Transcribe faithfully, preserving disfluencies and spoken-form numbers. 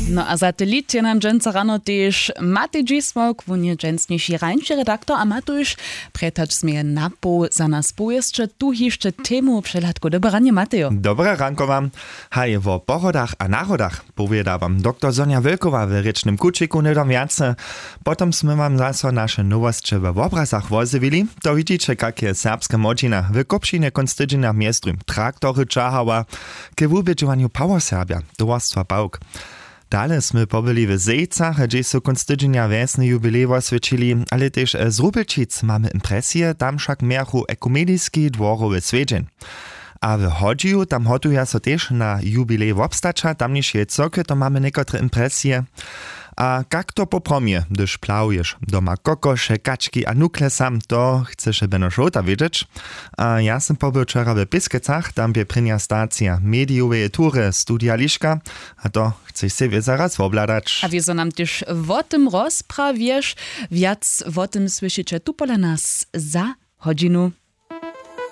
No a satelit je nam dźensa rano tež Matej Dźismok, wón je dźensniši rańši redaktor a ma tuž, prjetač směje napoł za nas powěsće tu hišće temu přehladku. Dobre ranje, Matejo. Dobre ranko wam. Haj, wo porodach a narodach powěda wam doktor Sonja Wölkowa w rěčnym kućiku hnydom wjace. Potom smy wam zaso naše nowosće we wobrazach wozjewili. To widźiće, kak je serbska młodźina w Kópšinje kónc tydźenja mjez druhim traktory ćahała k wubědźowanju Power Serbja, towarstwa Pawk. Dale smy pobyli w Zejcach, hdźež su kónc tydźenja wjesny jubilej woswjećili, ale tež z Rubelčic mamy impresije, tam wšak mějachu ekumeniski dworowy swjedźeń. A w Hodźiju, tam hotuja so tež na jubilej wobstaća tamnišeje cyrkwje, to mamy někotre impresije. A kak to poprawom je, hdyž plahuješ doma kokoše, kački a nukle sam, to chceše bjeno šołta wědźeć. A ja sym pobył wčera w Pěskecach, tam bě prěnja stacija medijoweje tury Studija Liška, a to chceš sej wěc zaraz wobhladać. A wězo nam tež wo tym rozprawješ. Wjac wo tym słyšiće tu pola nas za hodźinu.